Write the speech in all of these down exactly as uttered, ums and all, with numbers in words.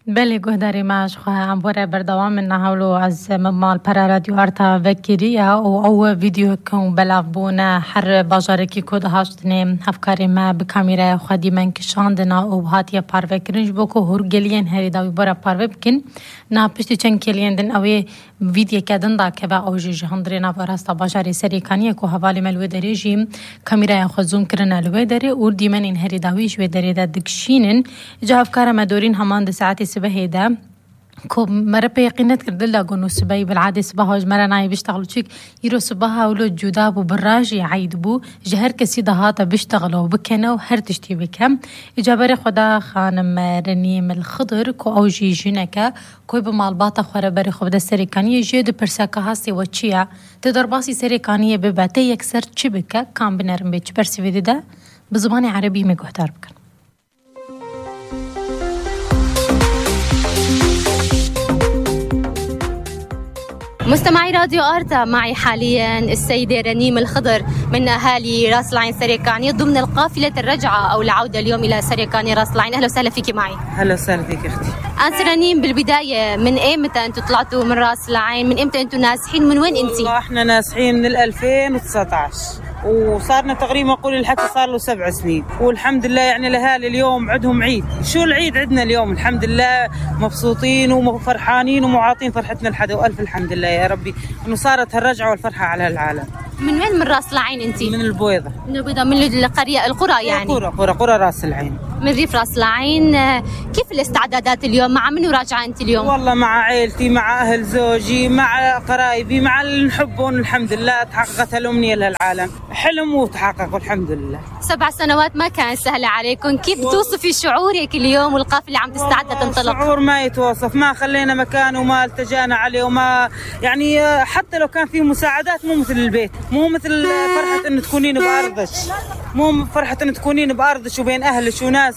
Belê guhdarê me, ji xwe em were berdewam in niha wilo ez min malpera Radyo Arta vekiriye û ew vîdyoyeke belav bûne her bajarekî ku dihaştinê hevkarê me bi kamîraya xwe dîmen kişandina û hatiye parvekirin ji bo ku hûrgeliyên herî dawî were parve bikin. Niha piştî çend kêliyên din ew ê vîdyeke din dakeve, ew jî ji hundirê nava rasta bajarê Serêkaniyê ku hevalê me li wê derê jî kamîraya xwe zoom kirine li wê derê û dîmenên herî dawî ji wê derê de dikişînin. Îca hevkara me Dorîn heman di saetê sibehê de ku me re pê yeqîn nedikir, dil da got, nû sibehî, bil'adê sibeha ji me re nayê biştexil û çik. Îro sibeha wilo cuda bû, bi rajî eyd bû, ji her kesî dihate biştexile û bikene û her tiştî bike. Îca berê xwe da xanim Renîm El Xidir ku ew jî jineke, ku bi malbata xwe re berê xwe bide Serêkaniyê, jê dipirse ka hastê we çi ye? Tê derbasî Serêkaniyê bibe, tê yekser çi bike? Kam binerin bê çi bersivê dide? Bi zimanê erebî me guhdar bikin. مستمعي راديو آرتا، معي حاليًا السيدة رنيم الخضر من أهالي راس العين سريكانية ضمن القافلة الرجعة أو العودة اليوم إلى سريكانية راس العين. أهلًا وسهلًا فيكي معي. هلا وسهلا فيك اختي. أنت رنيم، بالبداية من إيمتى أنتوا طلعتوا من راس العين؟ من إيمتى أنتوا نازحين؟ من وين أنت؟ والله احنا نازحين من ال ألفين وتسعتاش، وصارنا تقريبًا، قولي الحكي، صار له سبع سنين، والحمد لله يعني الاهالي اليوم عندهم عيد. شو العيد عندنا اليوم؟ الحمد لله مبسوطين وفرحانين ومعاطين فرحتنا لحدا، والف الحمد لله يا ربي انه صارت هالرجعه والفرحه على هالعالم. من وين؟ من راس العين انت؟ من البويضه. من البيضة، من القرية، القرى يعني؟ قرى، قرى، قرى راس العين. من ريف راس العين. آه، كيف الاستعدادات اليوم؟ مع منو راجعة أنت اليوم؟ والله مع عيلتي، مع أهل زوجي، مع قرايبي، مع اللي نحبهم. الحمد لله تحققت هالأمنية لهالعالم. حلم وتحقق والحمد لله. سبع سنوات ما كانت سهلة عليكم، كيف بتوصفي شعورك اليوم والقافلة عم تستعد والله لتنطلق؟ شعور ما يتوصف، ما خلينا مكان وما التجأنا عليه وما، يعني، حتى لو كان في مساعدات مو مثل البيت، مو مثل فرحة إنه تكونين بأرضك، مو فرحة إنه تكونين بأرضك وبين أهلك وناسك.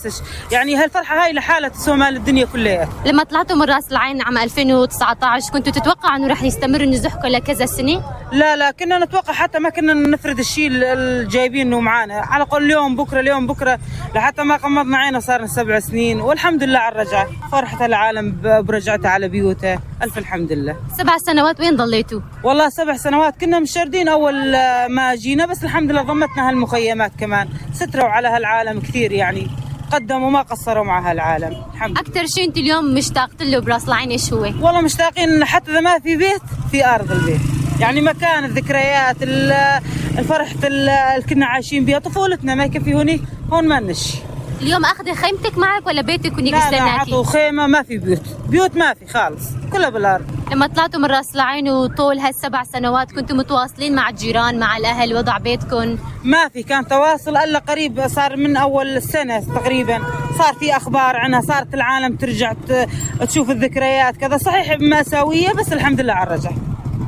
يعني هالفرحة هاي لحالها تسوى مال الدنيا كلها. لما طلعتوا من راس العين عام ألفين وتسعتاش، كنتوا تتوقعوا إنه رح يستمر نزوحكم لكذا سنة؟ لا، لا، كنا نتوقع، حتى ما كنا نفرد الشيء ال-، ال-، جايبينه معانا، على الأقل اليوم بكرة، اليوم بكرة، لحتى ما غمضنا عينا. صار لنا سبع سنين والحمد لله على الرجعة، فرحة العالم ب-، برجعته على بيوته. ألف الحمد لله. سبع سنوات وين ضليتوا؟ والله سبع سنوات كنا مشردين أول، آه، ما جينا، بس الحمد لله ضمتنا هالمخيمات كمان، ستروا على هالعالم كثير، يعني قدموا ما قصروا مع هالعالم، الحمد لله. أكتر شي أنت اليوم مشتاق له براس العين إيش هو؟ والله مشتاقين حتى إذا ما في بيت، في أرض البيت، يعني مكان الذكريات، ال-، الفرحة ال-، اللي كنا عايشين بيها طفولتنا، ما يكفي هونيك، هون ما نشي. اليوم أخذ خيمتك معك ولا بيتك هنيك لا، لا، بيستناكي؟ عطوا خيمة، ما في بيوت، بيوت ما في خالص، كلها بالأرض. لما طلعتوا من راس العين وطول هالسبع سنوات، كنتوا متواصلين مع الجيران، مع الأهل، وضع بيتكم؟ ما في، كان تواصل إلا قريب، صار من أول السنة تقريبًا، صار في أخبار عنها، صارت العالم ترجع ت-، تشوف الذكريات كذا. صحيح مأساوية، بس الحمد لله على الرجع.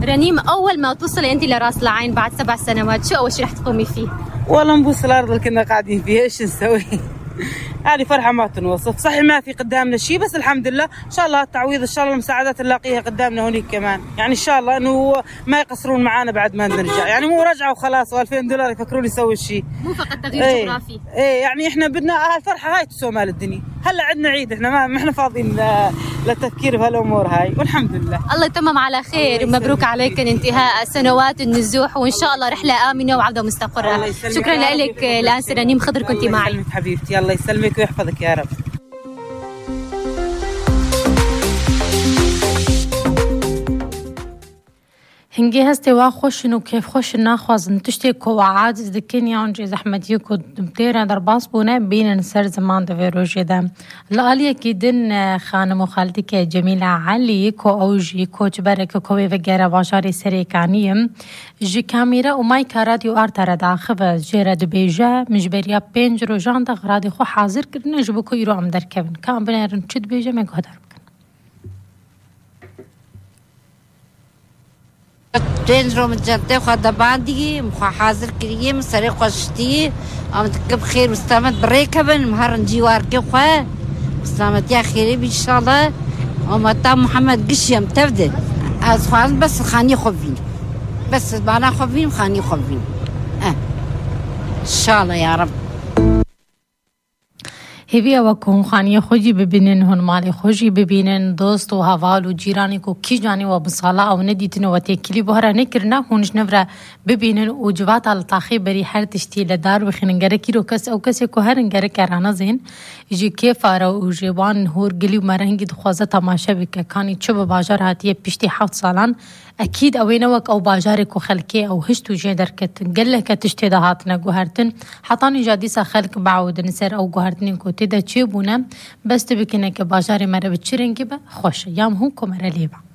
رنيم، أول ما توصلي أنت لراس العين بعد سبع سنوات، شو أول شي رح تقومي فيه؟ والله نبوس الأرض اللي كنا قاعدين فيها، إيش نسوي؟ هذه فرحة ما تنوصف. صحيح ما في قدامنا شي، بس الحمد لله. إن شاء الله التعويض، إن شاء الله المساعدات نلاقيها قدامنا هونيك كمان. يعني إن شاء الله إنه ما يقصرون معانا بعد ما نرجع. يعني مو رجعة وخلاص، و ألفين دولار يفكرون يسوي شي. مو فقط تغيير إيه. جغرافي. إيه، يعني إحنا بدنا هالفرحة هاي تسوى مال الدنيا. هلأ عندنا عيد، إحنا ما، ما إحنا فاضيين ل-، للتفكير بهالأمور هاي، والحمد لله. الله يتمم على خير، الله ومبروك يسلمك. عليكم انتهاء سنوات النزوح، وإن شاء الله رحلة آمنة وعودة مستقرة. الله يسلمك شكرًا يا رب، لك، يحفظك. الآن سيرة رنيم خضر كنتي الله معي. يسلمك حبيبتي، الله يسلمك ويحفظك يا رب. Hingê hestê wa xweş in û kêfxweş in, naxwazin tiştê ku we aciz dikin yan jî zehmetiyê ku têre derbas bûne, bînin ser ziman di vê rojê de. Li aliyekî din, e, xanim û xaltike Cemîla Elî, ku ew jî koçbereke ku wê vegere bajarê Serêkaniyê, ji kamîre û mayka Radyo Arta re diaxive, jê re dibêje, min ji beriya pênc rojan de xiradê xwe hazir kirine ji bo ku îro em derkevin. Ka em binerin çi dibêje, me guhdar bikin. Pênc ro min çentê xwe de bandî, min xwe hazir kiriye, min serê xwe şitî, em dikim xêr û selamet bi rê kevin, min her rincî warkê xwe, bi selametiya xêrê bî înşallah. Û me ta Muhammed gişî em tev de. Ez xwazim bes xanî xwe bînim. Bes mana xwe bînim, xanî xwe bînim. Eh. Înşallah ya Reb. Hêvî ew e ku hûn xaniyê xwe jî bibînin, hûn malê xwe jî bibînin, dost û heval û cîranê ku kîjanê we bi sala ew nedîtine, we têkilî bi we re nekirine, hûn ji nû re bibînin û civata li taxê berî her tiştî li dar bixînin. Gerek îro kes, ew kesê ku herin gerek e ranezên, ji kêfa re û ji wan hûr gilî û merengî dixwaze temaşe bike, kanî çi bi bajar hatiye piştî heft salan, ekîd ew ê ne wek ew bajarê ku xelkê ew hişt û jê derket. Geleke tişt tê de hatine guhertin. Heta nîja dîsa xelk biewidin ser ew guhertinên ku tê de çêbûne. Bes tu bikine ke bajarê me re bi çi rengî be, xweş e. Ya hûn ku me re lê be.